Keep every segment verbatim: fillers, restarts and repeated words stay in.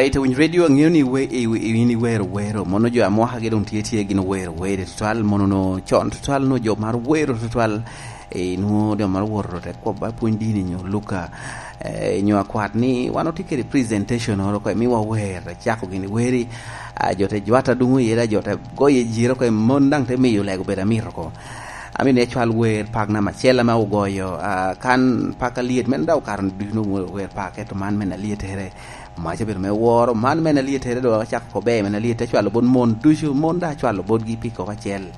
Ite winy radio, ang'eyo ni we, i, i, in iwero wero. Mono jo amwaka gi dong tye tye gin wero wero tutwal. Mono no con tutwal, no jo mar wero tutwal. E, nwo jo mar woro te kwobba pwony dini nyo Luka, e, nyo akwat ni wan otye kede presentation oro ko, mi wawer, cako gini weri. A, jo te jwata dungu yera, jo te goye jiro ko, mon dang te miyo lego bedo amito ko. Ami ne cwal wer pak namba acel ame ogoyo, a, kan pak alyet, men daw karo ducu no wer pak, eto man men alyetere. Maca bedo me woro, man men alyetere do acako ko ber, men alyet te cwalo bot mon ducu, mon da cwalo botgi pi koko acel.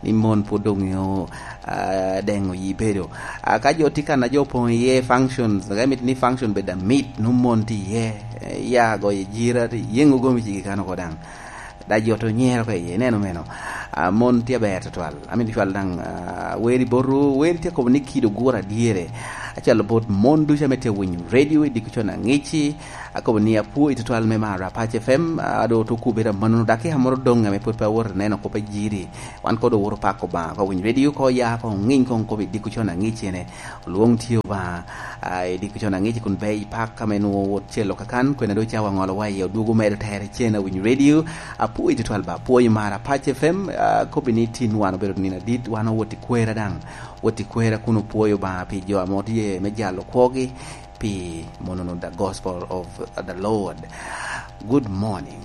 Ni mon pwod dong ŋeo, a, deŋo yi bedo. A, ka jo tye kan a jo opoŋ iye functions, ka imito ni function bed amit, no mon tye iye, e, ya goyo jira, yeŋo gomi cigi kan oko daŋ. Da jo to nyero ka iye, ineno meno. A, mon tye aber tutwal. Amito cwal daŋ, a, weri boto, weri tye kobo ni kido gura dyere. Acwalo bot mon ducu ame tye winyo radio i diko con aŋici. Akobo ni apwoi tutwal me maro Apac F M, a, do to kubira mano, dakika moro doŋ ame pwod pe awoto neno kop a jiri. Wan kodo woro pako Obaŋa, ko winyo radio, ko ya, ko ŋiny, ko kobo i diko con aŋici ene. Olwoŋ tye Obaŋa, a, i diko con aŋici kun be i pak ame nwo wot celo kakan, kwene do cawa ŋolo wa iye, odwogo medo tere cen a winyo radio. Apwoi tutwal ba, apwoi maro Apac F M, a, kobo ni tin wan obedo nino adit, wan owot i kwera daŋ. Wot i kwera kun opwoyo Obaŋa pi jo ame tye me jalo kwogi, pi monono the gospel of the Lord. Good morning.